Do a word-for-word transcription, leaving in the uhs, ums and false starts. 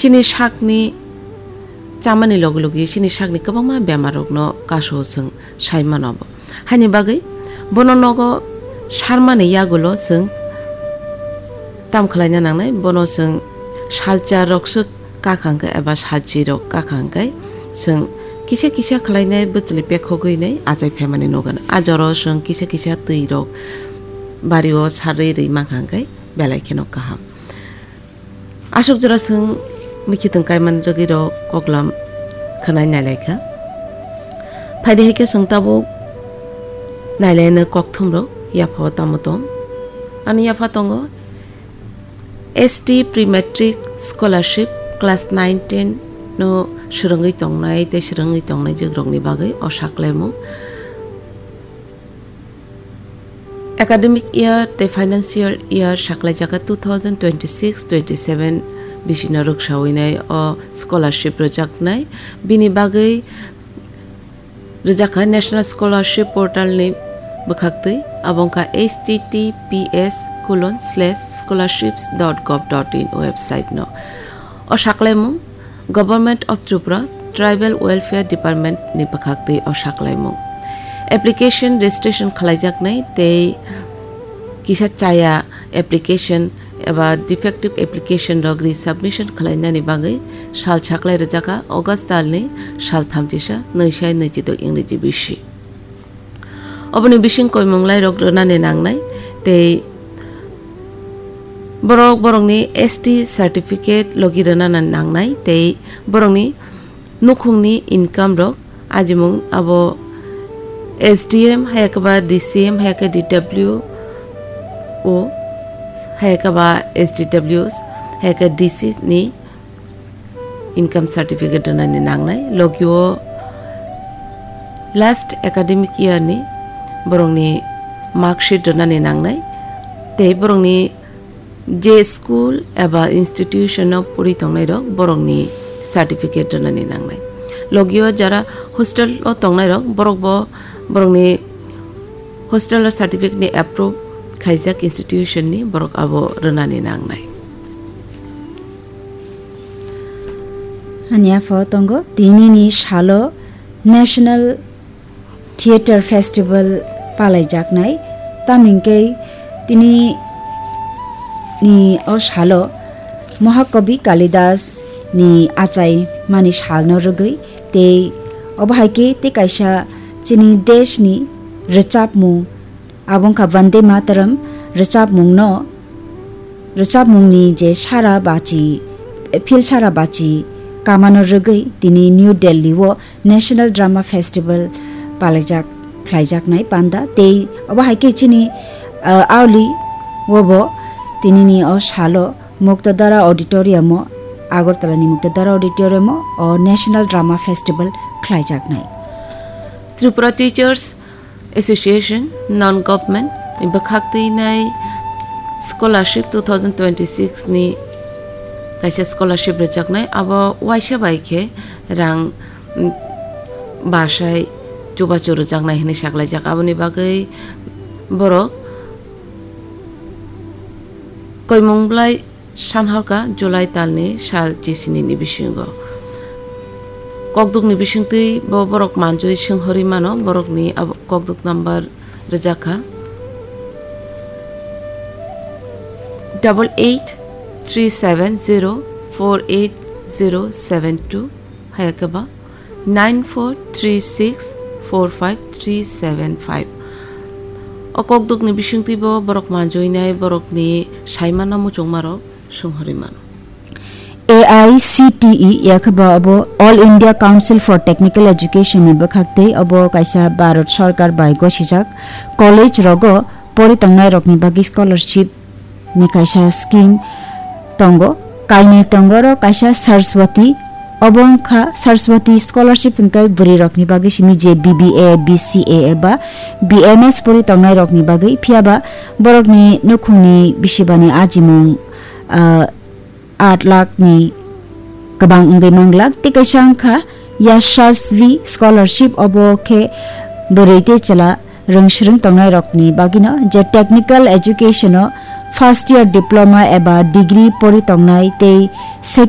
chini sakni chamani logi logi chini sakni kwbangma bemarrokno kasu chwng sai mano bo. Haini bagwi bono nogo sarmani yagulo chwng tam khlaina nangnai, bono chwng salcha rokse kakha hwnkhe eba salchi rok kakha hwnkhe chwng kisa kisa khlainai bwchwlwi pekhogwi nai achai phaimani nukgano. A jora chwng kisa kisa twi rok bario sarwi rwi mankha hwnkhe belai kheno kaham. Aswk jora chwng mikhitwng kaimani rwgwi rok koklam khwnai nailaikha. Phaidi hai khe chwng tabuk nailaino kokthumrok yaphao tamo tong. Ani yapha tongo S T Pre-Matric Scholarship class nine ten no swrwngwi tongnai tei swrwngwi tongnai jwkrokni bagwi o saklaimung. Academic year tei financial year saklaijak two thousand twenty-six twenty-seven bisino rwksawi nai o scholarship rwjaknai. Bini bagwi rwjakha National Scholarship Portal ni bwkhaktwi, abo wngkha H T T P S colon slash scholarships dot gov dot in website no. O saklaimung Government of Tripura Tribal Welfare Department ni bwkhaktwi o saklaimung. Application registration khlaijaknai tei kisa chaya application eba defective application rok resubmission khlainani bagwi sal saklai rwjakha August talni sal thamchisa nwi sai nwi chidok Ingreji bisi. Oboni bising koimung lairok rwnani nangnai tei borok borokni S T certificate logi rwnani nangnai tei borokni nukhungni income rok ajimung abo S D M hayakhe ba D C M hayakhe D W O hayakhe ba S D W hayakhe D C ni income certificate rwnani nangnai, logio last academic year ni borokni mark sheet rwnani nangnai, tei borokni je school eba institution o puri tongnai rok borokni certificate rwnani nangnai. Logio jara hostel o tongnai rok borok bo borokni hostel o certificate ni approve khaijak institution ni borok abo rwnani nangnai. Ani aphao tongo, tinini salo National Theatre Festival palaijaknai, tamni hwnkhe tini ni o salo Mahakobi Kalidas ni achai mani salno rwgwi tei obo hai khe tei kaisa chini desh ni rwchapmung, abo wngkha Vande Mataram rwchapmungno, rwchapmungni je sara bachi, phil sara bachi kamano rwgwi tini New Delhi o National Drama Festival palaijak, khlaijaknai panda tei obo hai khe chini, ah, aoli obo tinini o salo Muktadara Auditorium o, Agartala ni Muktadara Auditorium o, o National Drama Festival khlaijaknai. Tripura Teachers Association, non-government, bwkhak twi nai scholarship two thousand twenty-six ni kaisa scholarship rwjaknai, abo waisa bai khe rang, mm, basai chubachu rwjaknai hinwi saklaijak. Aboni bagwi borok koimung bwlai Sanhalka July talni sal chisini ni bisingo. Kokdukni bisingtwi bo borok manjui swnghorwi mano, borokni abo kokduk number rwjakha double eight three seven zero four eight zero seven two, hayakhe ba nine four three six four five three seven five. O kokdukni bisingtwi bo borok manjuinai borokni saimano muchungmarok swnghorwi mano. A I C T E yakhe ba abo All India Council for Technical Education ni bwkhak tei obo kaisa Bharat Sarkar bai gosijak college rogo pori tongnai rokni bagwi scholarship ni kaisa scheme tongo, kainwi tongo oro kaisa Saraswati, obo wngkha Saraswati scholarship hwnkhe bwrwi rokni bagwi simi je B B A, B C A eba B M S pori tongnai rokni bagwi, phiyaba borokni nukhungni bisibani ajimung, ah, aat lakh ni kwbang wngwi manglak. Tei kaisa wngkha Yashasvi Scholarship, obo khe bwrwi tei chwla rwngswrwng tongnai rokni bagwino, je technical education o first year diploma eba degree pori tongnai tei second